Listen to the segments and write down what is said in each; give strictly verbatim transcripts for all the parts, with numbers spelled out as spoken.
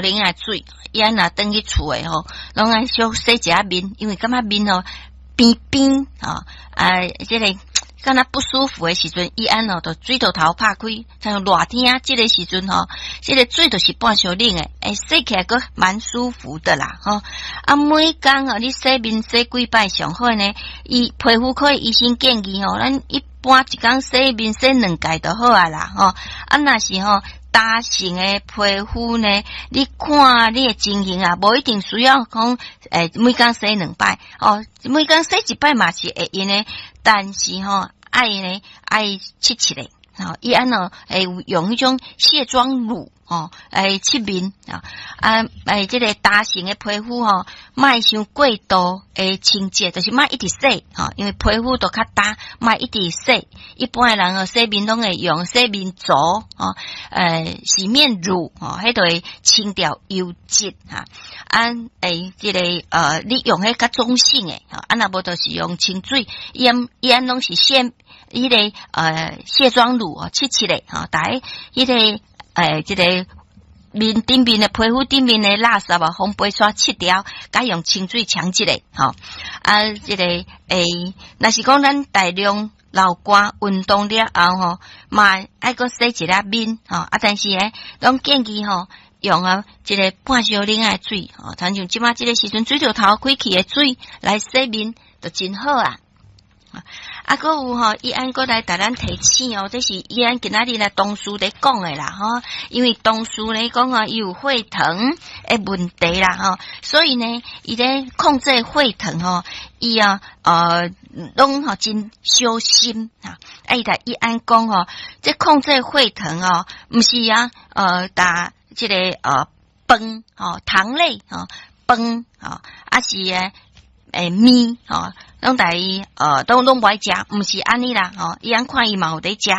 冷的水，伊按若轉去厝的吼，攏愛小洗一下面，因為感覺面吼邊邊吼，啊，這个敢若不舒服的時陣，伊按哦，就水柱頭拍開，像熱天這个時陣吼，這个水就是半小冷的，欸，洗起來閣蠻舒服的啦，吼。啊，每工哦，你洗面洗幾擺上好呢？伊皮膚科醫生建議吼，咱一般一工洗面洗兩擺就好啊啦，吼。啊，若是吼，乾性的皮膚呢，你看你的情形啊，無一定需要講，欸，每工洗兩擺，哦，每工洗一擺嘛是會用的，但是吼，愛呢愛拭拭咧，吼，伊按怎會用彼種卸妝乳吼來拭面啊，啊，欸，這个乾性的皮膚吼，莫傷過度的清潔，就是莫一直洗吼，因為皮膚都較焦，莫一直洗。一般的人哦，洗面攏會用洗面皂吼，呃，洗面乳吼，彼就會清掉油脂哈。啊，欸，這个呃，你用彼較中性的，啊，若無就是用清水，伊按伊按攏是卸彼个呃卸妝乳哦，拭拭咧吼，逐彼个欸，這个面頂面的皮膚頂面的垃圾啊，風飛刷拭掉，佮用清水沖一下吼。啊，這个欸，若是講咱大量流汗運動了後吼，嘛愛閣洗一下面吼。啊，但是呢，攏建議吼，用啊，這个半燒冷的水吼，親像這馬這个時陣水柱頭開去的水來洗面，就真好啊。啊，閣有吼，伊按閣來共咱提醒哦，這是伊按今仔日來同事咧講的啦，吼，因為同事咧講啊，伊有血糖的問題啦，吼，所以呢，伊咧控制血糖吼，伊啊，呃，攏吼真小心啊。啊，伊來伊按講吼，這控制血糖哦，毋是啊，呃，共這个呃飯吼，糖類吼，飯吼，啊是欸麵吼，攏共伊呃，攏攏無愛食，毋是按呢啦吼，伊按看伊嘛有佇食，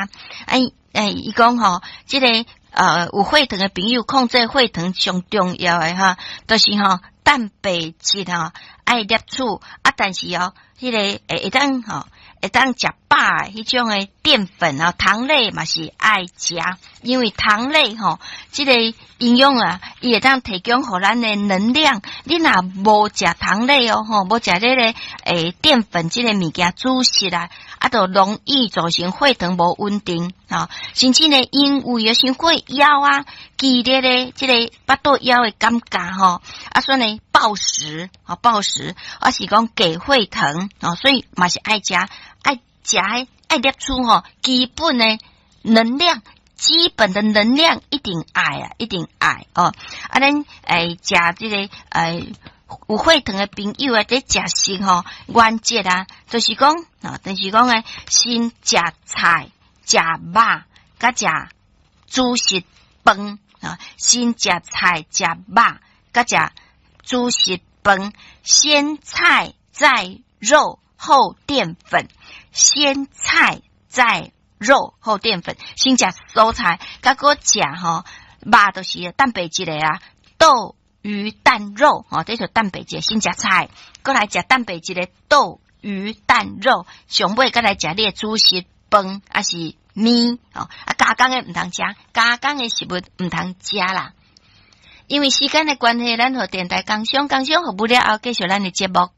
哎哎，伊講吼，這个呃有血糖的朋友控制血糖上重要的哈，就是吼蛋白質吼愛攝取啊，但是哦，彼个會會當吼會當食飽的彼種的澱粉啊，糖類嘛是愛食，因為糖類吼，這個營養啊，伊會當提供予咱的能量。你若無食糖類哦，吼，無食這個欸澱粉這個物件主食啊，啊，就容易造成血糖無穩定，吼，甚至呢，因為有傷過枵啊，劇烈的這個腹肚枵的感覺吼，啊，所以呢，暴食啊，暴食，啊是講低血糖，哦，所以嘛是愛食，愛食愛攝取吼，基本的能量，基本的能量一定愛啊，一定愛哦。啊，咱欸食這个欸有血糖的朋友啊，佇食食吼原則啊，就是講啊，就是講欸，先食菜、食肉，佮食主食飯啊，先食菜、食肉，佮食主食飯，先菜再肉後澱粉，先菜再肉後澱粉，先食蔬菜，佮閣食吼肉，就是蛋白質的啊，豆、魚、蛋、肉，吼，這就蛋白質。先食菜，閣來食蛋白質的豆、魚、蛋、肉，上尾閣來食你的主食飯，抑是麵，吼，啊，加工的毋通食，加工的食物毋通食啦。因為時間的關係，咱予電台工商，工商服務了後，繼續咱的節目。